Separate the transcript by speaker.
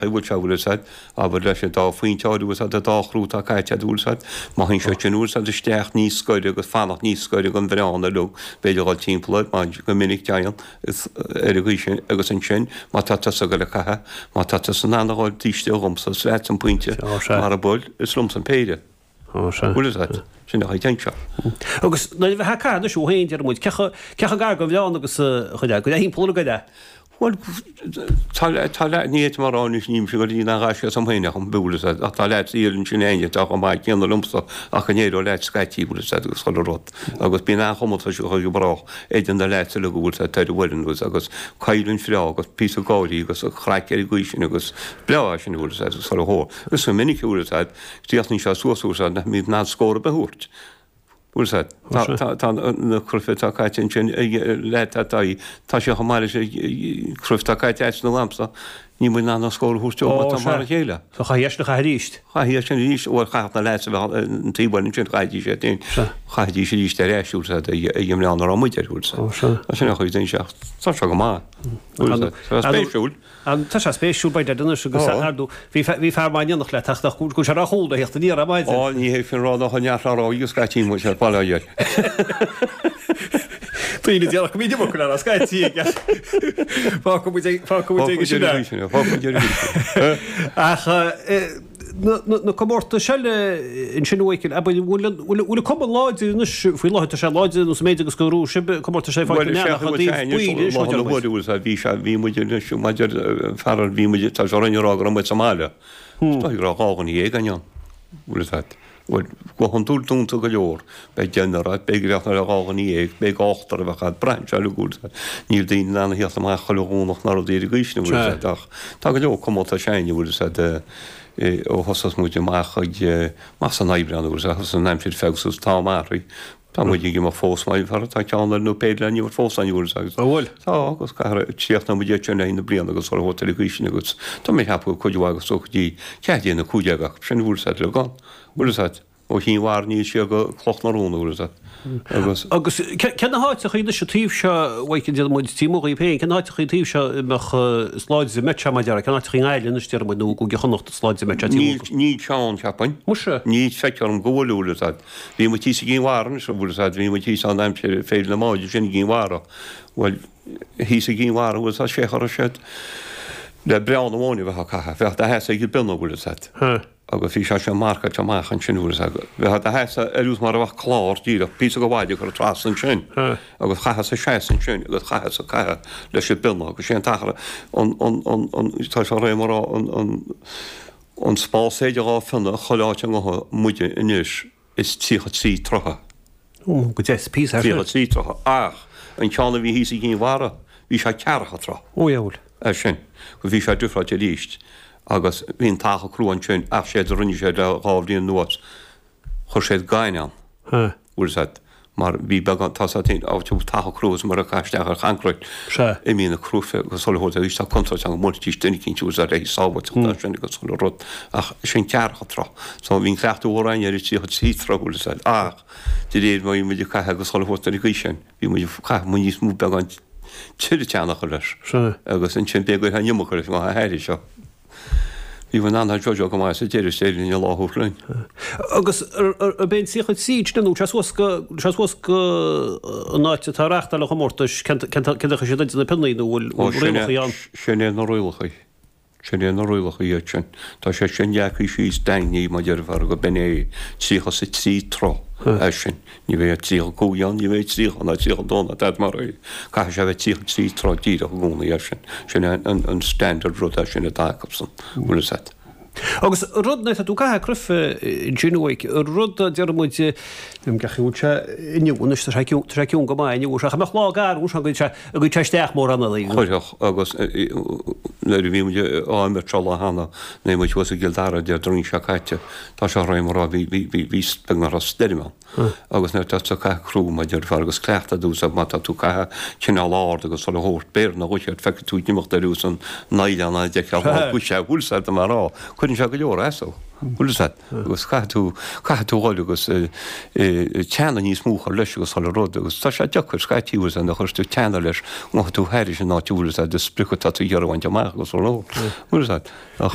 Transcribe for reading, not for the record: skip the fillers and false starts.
Speaker 1: Bhfuil sé, bhfuil fhios a'd, abair leis an dá phointeáil, bhfuil fhios a'd, an dá chrú atá caite a'd, bhfuil fhios a'd, má théann sé sin, bhfuil fhios a'd, isteach níos gaire agus fanacht níos gaire don bhreán uilig, b'fhéidir dhul timpeall air, mar go minic téann ar an gcaoi sin agus ansin má tá tusa ag goil ag caitheamh, má tá tusa in ann a dhul taobh istigh dhomsa, is leatsa an pointe, mara bhfuil, is liomsa an péire.
Speaker 2: Ó, sea.
Speaker 1: Bhfuil fhios a'd, sin a chuid anseo.
Speaker 2: Agus nuair a bheifeá ag caitheamh anois thú féin, deir muid, cé chomh gar don bhreán agus a chuid, go dtimpeall ar an gcoire?
Speaker 1: Bhuel, tá, tá leath, ní fhéadfainn a rá anois, nílimse ag goil ag gaisce asam féin ach an bhfuil fhios a'd, ach tá leaids thiar ansin againne atá chomh maith céanna liomsa ach go n-éireodh leat scaití, bhfuil fhios a'd, agus chuile rud. Agus bíonn an-chomórtas go brách idir na leaids uilig, bhfuil fhios a'd, ar an bhfoireann agus, agus coimhlint bhreá agus píosa gáirí agus craic ar an gcaoi sin agus breá é sin, bhfuil fhios a'd, agus chuile shórt. Agus go minic, bhfuil fhios a'd, chríochnaíonn sé suas, bhfuil fhios a'd, nach mbíonn in ann scór ar bith a thabhairt. Bhfuil fhios a'd. Tá, tá, tá na cruife atá caite ansin ag leaid atá í, tá sé chomh maith leis an cruif atá caite a'dsa nó a'msa, níl muid in ann an scór a thabhairt dóibh mar tá mar a chéile.
Speaker 2: So chaithfí eisean a chaitheamh arís.
Speaker 1: Chaithfí eisean arís, bhuel chaithfeadh na leaids a bheith an taobh eile ansin, chaithfidís iad féin, chaithfidís arís ar ais, bhfuil fhios a'd, ag an mbreán a raibh muid air, bhfuil fhios a'd.
Speaker 2: Sea.
Speaker 1: Sin an chuid den seach, tá sé go maith, bhfuil fhios a'd, tá sé spéisiúil.
Speaker 2: Tá sé spéisiúil, by dad anois agus ar ndóigh bhí bhí fear maith in éineacht leat ach go bhfuil sé ar a chúl le theacht aniar ar maidin.
Speaker 1: Á, ní hé sin rá nach neart á rá agus scaití muid ar baile air.
Speaker 2: Daoine a déarfadh go mbíonn iomarca le rá scaití aige. Fágfaidh muid ag fágfaidh muid aige sin é.
Speaker 1: Fágfaidh muid aige sin é.
Speaker 2: Ach na comórtais eile ansin a Mhichael, abair, bhfuil an bhfuil an cumann láidir anois faoi láthair, tá sé láidir nó sa méid agus go raibh sibh comórtais eile faighte
Speaker 1: Bhuel,
Speaker 2: ach i dtaobh baill anois
Speaker 1: má deir muid. Bhí sé, bhí muid anois maidir fear, bhí muid, tá sé orainn a rá go raibh muid sa mbaile. Is dóigh go raibh 12 dhuine againn ann, bhfuil fhios agat. Bhuel, go hiondúil dúnta go leor. Beidh deichniúr agat, b'fhéidir go mbeadh 12 dhuine, beidh ochtar a bheadh agat, braitheann sé uilig, bhfuil fhios agat. Níl daoine in ann a theacht amach chuile Dhomhnach ná rudaí ar an gcaoi sin, bhfuil fhios agat, ach tá go leor comórtais againn, bhfuil fhios agat, ó thosas muid amach ag, amach san Aibreán, bhfuil fhios agat, thosaigh an aimsir ag feabhsú, tá am athraithe. Tá muid ag imeacht fós, mar tá ceann eile nó péire le n-imirt fós againn, bhfuil fhios agat.
Speaker 2: An bhfuil?
Speaker 1: Tá, agus caithfear, críochnóidh muid iad sin le haghaidh na bliana agus chuile shórt ar an gcaoi sin agus tá mé ag ceapadh go cuid mhaith agus go dtí 14 nó 15 acu sin, bhfuil fhios agat, le gan, bhfuil fhios agat, ó Chinn Mhara aníos siar go Cloch na Rún, bhfuil fhios agat,
Speaker 2: agus. Agus cé na háiteachaí anois an taobh seo, a Mhichael, déarfaidh muid, taobh amuigh dhaoibh féin, cé na háiteachaí an taobh seo a mbeadh is láidre a mbeadh sé, mar a déarfá, cé na háiteachaí i nGaillimh anois, déarfaidh muid, nó i gCúige Chonnacht is láidre a mbeadh sé taobh
Speaker 1: amuigh? Níl, níl ceann, cheapfainn.
Speaker 2: Muise.
Speaker 1: Ní feictear dom go bhfuil, bhfuil fhios agat. Bhí muid thíos i gCinn Mhara anois, bhfuil fhios agat, bhí muid thíos ann aimsir Féile na mBád ansin i gCinn Mhara. Bhuel, thíos i gCinn Mhara, bhfuil fhios agat, sé chur siad le breán amháin a bheith á caitheamh, bheadh do sheasamh ag an bpionna, bhfuil fhios agat. Agus bhí sé sin marcáilte amach ansin, bhfuil fhios agat. Bheadh do sheasamh ar nós mar a bheadh clár díreach, píosa de mhaide curtha trasna ansin agus chaitheas a seasamh ansin agus chaitheas a caitheamh leis an bpionna agus sé an t-achar an, an, an, an, tá sé réidh mar an, an, An spás idir dhá phionna chuile áit a ngabhfaidh muide anois is 33 troithe.
Speaker 2: Ó, go deas, píosa
Speaker 1: thar. 33 troithe. Ach an ceann a bhí thíos i gCinn Mhara, bhí sé ceathracha troith.
Speaker 2: Ó, dheabhail.
Speaker 1: É sin. Go bhí sé difreáilte arís. Agus bhí an t-achar crua ansin ach séard a rinne siad le dhá bhliain anuas, Chuir siad gainne ann.
Speaker 2: Sea.
Speaker 1: Bhfuil fhios agat, mar bhí beagán, tá fhios agat féin, áit a bhfuil taca crua is mar a caitheadh isteach ar choincréit.
Speaker 2: Sea.
Speaker 1: Imíonn na cruife agus chuile shórt arís tá contúirt ann go mbuailfidís duine eicínt bhfuil fhios agat le haghaidh sábháilteachta as sin agus chuile rud ach sin ceathracha troith. So bhí an cleachtadh mhór againn ar an 33 troith bhfuil fhios agat ach de réir mar bhí muid ag caitheamh agus chuile shórt ar an gcaoi sin bhí muid ag caitheamh muid níos mó beagán tuilleadh teannach leis.
Speaker 2: Sea.
Speaker 1: Agus ansin b'fhéidir go raibh an iomarca leis an gcathair seo. Bhí muid in ann seo go maith sa deireadh is éirigh linn an lá a thabhairt linn.
Speaker 2: Agus ab é an 33 sin nó sé suas go sé suas go an áit atá ag reáchtáil an chomórtais cén cén chaoi siad idir na pionnaí nó bhfuil rialacha
Speaker 1: ann? Sin é na rialacha. Sin é na rialacha iad sin. Tá sé sin leagtha síos daingnithe mar déarfá go b'in é 33 troith é sin. Ní bheidh 35 ann, ní bheidh 30 ná 32 ná tada mar é. Caithfidh sé a bheith 33 troith díreach i gcónaí air sin. Sin é an standard rud é sin atá acusan, bhfuil fhios agat.
Speaker 2: Agus rud, nuair atá tú ag caitheamh cruife ansin uaidh, rud a deir muid, cén chaoi a bhfuil sé inniu anois, tá sé ciúin, tá sé ciúin go maith inniu, ach an mbeadh lá garbh anseo go dtí go dtí sé isteach mórán
Speaker 1: eile. Chuirfeadh, agus nuair a bhí muid á imirt seo lá cheana, nuair a bhí muid thuas i gCill Dara Déardaoin seo caite, tá sé réidh mar a bhí, bhí, bhí, bhí, beagnach raibh stoirm ann. Agus nuair atá tú ag caitheamh crú, mar a déarfá, agus cleachtadh dús má tá tú ag caitheamh cineál ard agus chuile shórt, b'fhéidir nach bhfuil feicfidh tú ag imeacht ar nós an oileán a d'fheicfeá lá go sé, bhfuil fhios agat mar á, cuireann sé. sé go leor as, bhfuil fhios a'd, agus caithfidh tú, caithfidh tú dhul agus teannadh níos mó a chur leis agus chuile rud agus tá sé deacair scaití bhfuil fhios a'd nuair a chuireas tú teannadh leis gabhfaidh tú thairis an áit bhfuil fhios a'd an sprioc atá tú ag iarraidh a bhaint amach agus chuile rud, bhfuil fhios a'd. Ach.